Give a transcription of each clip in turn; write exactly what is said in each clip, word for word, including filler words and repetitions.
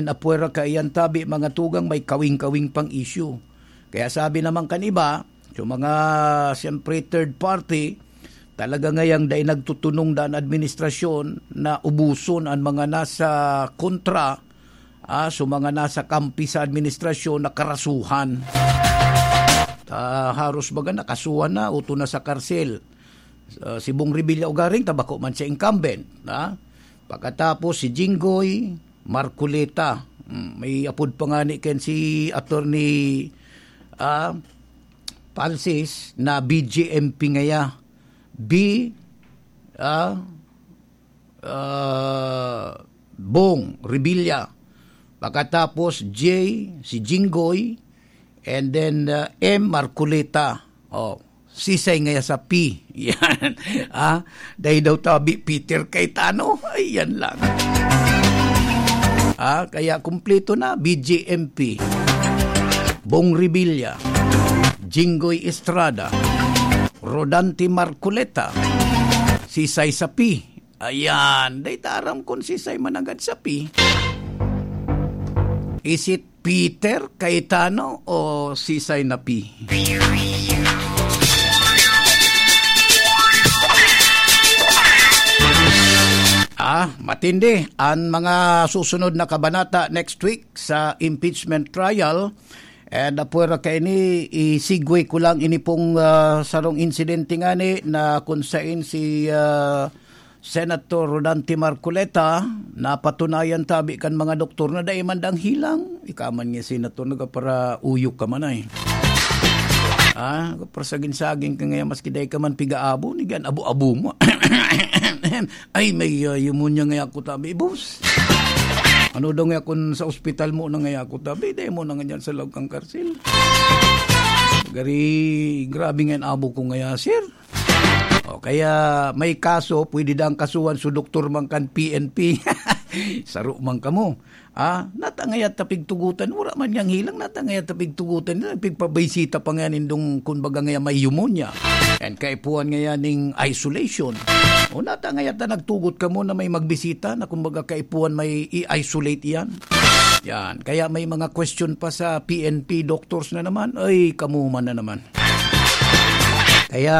na pwera kaiyan tabi mga tugang may kawing-kawing pang issue. Kaya sabi naman kan iba, yung mga, siyempre, third party, talaga ngayang dai nagtutunong dan administrasyon na ubuson ang mga nasa kontra, ah, so mga nasa kampi sa administrasyon na karasuhan. Ah, haros baga nakasuhan na, uto na sa karsel. Ah, si Bong Revilla ugaring, tabako man siya incumbent, ha? Pagkatapos, si Jinggoy Marcoleta. Hmm, may apod pa nga ni ken si Attorney, ah, Francis na B J M P ngaya. B, ah, ah, Bong Revilla. Pagkatapos, J, si Jinggoy. And then, ah, M, Marcoleta. Oh, sisay ngaya sa P. Yan. Ah, dai daw tabi Peter Cayetano. Ay, yan lang. Ah, kaya kumpleto na, B J M P. Bong Revilla. Jinggoy Estrada. Rodante Marcoleta. Sisay sa P. Ayan, dai ta aram kun sisay managad sa P. Is it Peter Cayetano o sisay na P? Ah, matindi. Ang mga susunod na kabanata next week sa impeachment trial. And apwera kaini, i-segue ko lang ini pong, ah, sarong insidente ngani na kung sain si, ah, Senator Rodante Marcoleta, napatunayan tabi kan mga doktor na dai man dang hilang. Ika man nga senator, nagaparauyok ka man ay. Ah, parasagin-sagin ka ngaya, maski dai ka man pigaabo, ni gan abo-abo mo. Ay, may, ah, pneumonia ngaya ako tabi, boss. Ano daw ngaya kun sa ospital mo na ngaya ako tabi, dai mo na nga dyan sa laog kang karsil. Gari, grabe nga abo ko ngaya, sir. O kaya may kaso, pwede dang kasuhan so doktor man kan P N P. Saro man kamo. Ah, natangayat ta pigtugotan, wala man niyang hilang, natangayat ta pigtugotan, nagpigpabisita pa nga nindong, kumbaga, nga may pneumonia. And kaipuhan nga yan ning isolation. O natangayat ta nagtugot kamo na may magbisita na, kumbaga, kaipuhan may i-isolate yan. Yan. Kaya may mga question pa sa P N P doctors na naman. Ay, kamo man na naman. Kaya,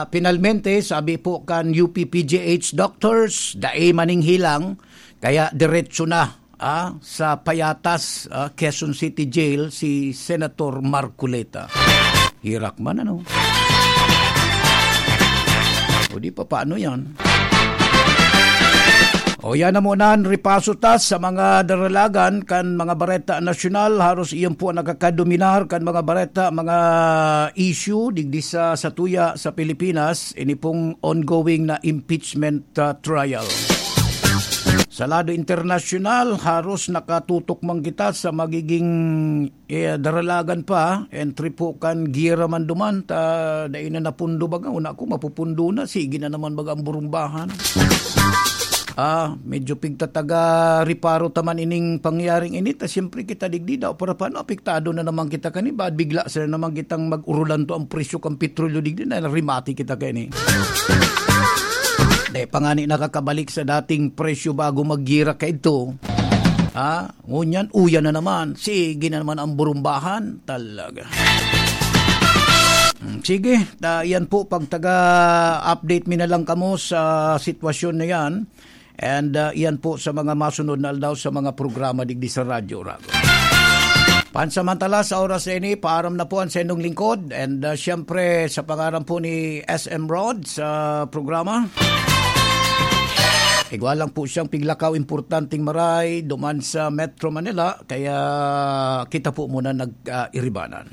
finalmente, sabi po kan U P P G H doctors, dai maning hilang, kaya diretso na, ah, sa Payatas, ah, Quezon City Jail si Senator Marcoleta. Hirak man, ano? O di pa, paano yan? O yan na muna an ripaso ta sa mga daralagan kan mga bareta nasyonal. Haros iyan po ang nakakadominar kan mga bareta, mga issue digdi sa satuya sa Pilipinas. Ini pong ongoing na impeachment, ah, trial. Sa lado internasyonal, haros nakatutok man kita sa magiging eh, daralagan pa, entry po kan giyera man duman, ta dai na napundo baga, una ko mapupundo na, sige na naman baga ang burumbahan. Ah, medyo pigtataga riparo ta man ining pangyaring ini, ta siyempre kita digdi daw, para paano apektado na naman kita kani, ba bigla sila naman kitang mag-urulan to ang presyo kan petrolyo digdi, na rimati kita kani. Dai pa nga ni nakakabalik sa dating presyo bago maggira ka ito. Ha? Ngunyan, uyan na naman. Sige na naman ang burumbahan. Talaga. Hmm, sige, ta, yan po, pagtaga-update mi na lang kamo sa sitwasyon na yan. And, ah, yan po sa mga masunod na aldaw sa mga programa digdi sa Radyo Rago. Pansamantala, sa oras na ini, paaram na po ang sendong lingkod. And, ah, siyempre, sa pangaran po ni S M Rod sa programa, igwa lang po siyang piglakaw importanteng maray duman sa Metro Manila. Kaya kita po muna nag, ah, iribanan.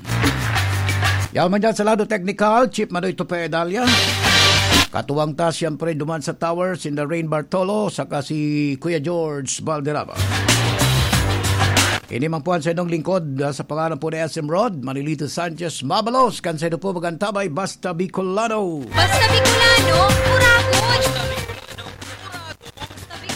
Yaman dyan sa lado technical, Chief Manoy Tope Dalia. Katuwang ta, siyempre, duman sa Towers in the Rain Bartolo, saka si Kuya George Valderrama. Ini man po ang saindong lingkod, ah, sa pangalan po ni S M Rod, Manilito Sanchez Mabalos, kan saindo po magantabay, Basta Bicolano. Basta Bicolano, Purapos!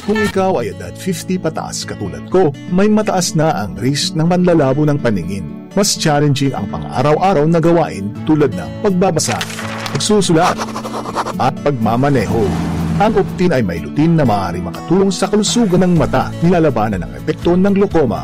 Kung ikaw ay edad fifty pataas katulad ko, may mataas na ang risk ng panlalabo ng paningin. Mas challenging ang pang-araw-araw na gawain tulad ng pagbabasa, pagsusulat, at pagmamaneho. Ang Optin ay may lutein na maaaring makatulong sa kalusugan ng mata, nilalabanan ang epekto ng glaucoma